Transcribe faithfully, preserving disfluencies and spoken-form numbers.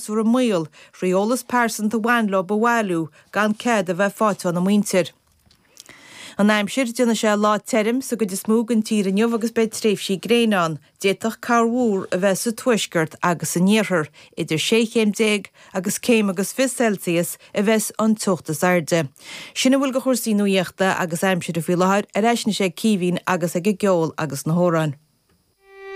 freasúra i mbaol thrí eolas pearsanta a bhain leo a bhailiú gan cead a bheith faighte óna muintir. An aimsir, déanfaidh sé lá tirim sa gcuid is mó den tír inniu agus beidh tréimhsí gréine ann. D'fhéadfadh corrmhúr a bheith sa tuaisceart agus san iarthar. Idir sé chéim déag agus céim agus fiche Celsius a bheas an teocht is airde. Sin a bhfuil de chúrsaí nuachta agus aimsire faoi láthair, ar ais anois ag Caoimhín agus ag an gceol agus na hamhráin.